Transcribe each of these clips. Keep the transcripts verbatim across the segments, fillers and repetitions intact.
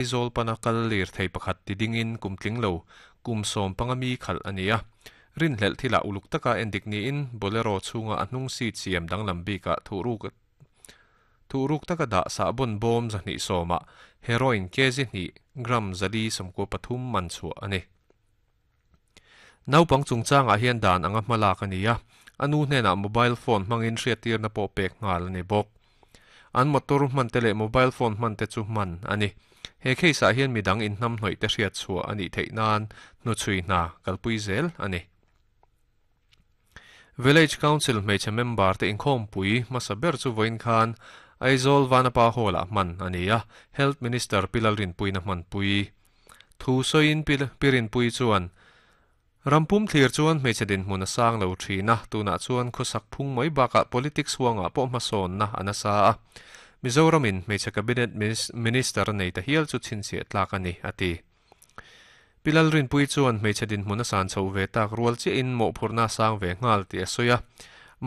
Aizawl pana kal lirthei pakhat ti dingin kum tling lo kum sawm panga mi khalh a ni a. Rinhlelh thilah uluk taka endik niin Bolero chhunga a hnung seat siam danglam bikah thuhruk thuhruk taka dah sahbawn bawm zahnih sawmah heroin kg hnih gram zali sawmkua pathum man chhuah a ni. Naupang chungchangah hian dan anga hma lak a ni a, a nu hnenah mobile phone hmangin hriattirna pawh pek nghal a ni bawk. An motor hman te leh mobile phone hman te chu hman a ni. He case ah hian midang inhnam hnawih te hriat chhuah a nih theih nan hnuchhui hna kalpui zel a ni. Village Council hmeichhe member te inkhawmpui hmasa ber chu vawiin khan Aizawl Vanapa Hall ah hman a ni a, Health Minister Pi Lalrinpuiin a hmanpui. Thu sawiin Pi Rinpui chuan Rampum thlir chuan hmeichhe dinhmun a sang lo thin a, tunah chuan khawsak phung mai bakah politics huangah pawh hmasawnna a nasa a. Mizoramin hmeichhe cabinet minister a nei ta hial chu chhinchhiah tlak a ni, a ti. Pi Lalrinpui chuan hmeichhe dinhmun a san chho ve tak rual chiahin mawhphurhna a sang ve nghal tih a sawi a.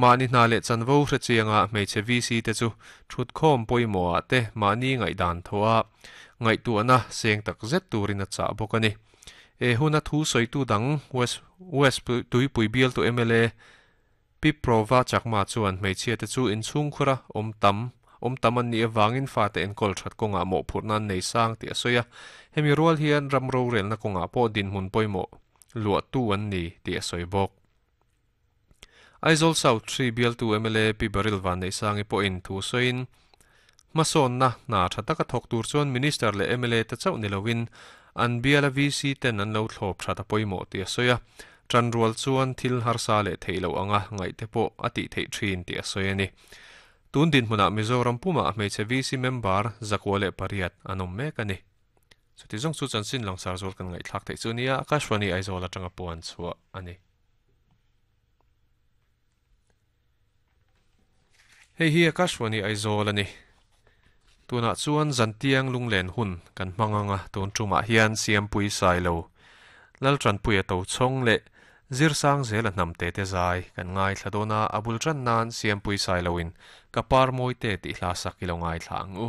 Mahni hna leh chanvo hre chianga hmeichhe V C te chu thutkhawm pawimawhah te mahni ngaihdan thaw a, ngaihtuahna seng tak zet turin a chah bawk a ni. E huna thu sawitu dang West West Tuipui bialtu M L A Pi Prova Chakma chuan hmeichhia te chu inchhungkhura awm tam awm tam an nih avangin fate enkawl that kawngah mawhphurhna an nei sang tih a sawi a. Hemi rual hian ram rorelna kawngah pawh dinhmun pawimawh luahtu an ni tih a sawi bawk. Aizawl South three bialtu M L A Pi Baril Van Neihsangi pawhin thu sawiin hmasawnna hna tha taka thawk tur chuan Minister leh M L A te chauh ni loin an biala V C ten an lo thlawp that a pawimawh tih a sawi a. Tan rual chuan thil harsa leh theih loh anga ngaih te pawh a tih theih thin tih a sawi a ni. Tun dinhmunah Mizoram pumah hmeichhe V C member zakua leh pariat an awm mek a ni. Chuti zawng chu chanchin langsar zual kan ngaihthlak theih chu nia Akashvani Aizawl atanga puan chhuah a ni. Hei hi Akashvani Aizawl a ni. Tunah chuan zantiang lunglen hun kan hmang anga tun tumah hian Siampui Sailo Laltanpuia to chhawng leh zirsang zel a hnam te te zai kan ngaithla dawn a, a bul tan nan Siampui Sailoin ka par mawi te tih hla sak i lo ngaithla ang u.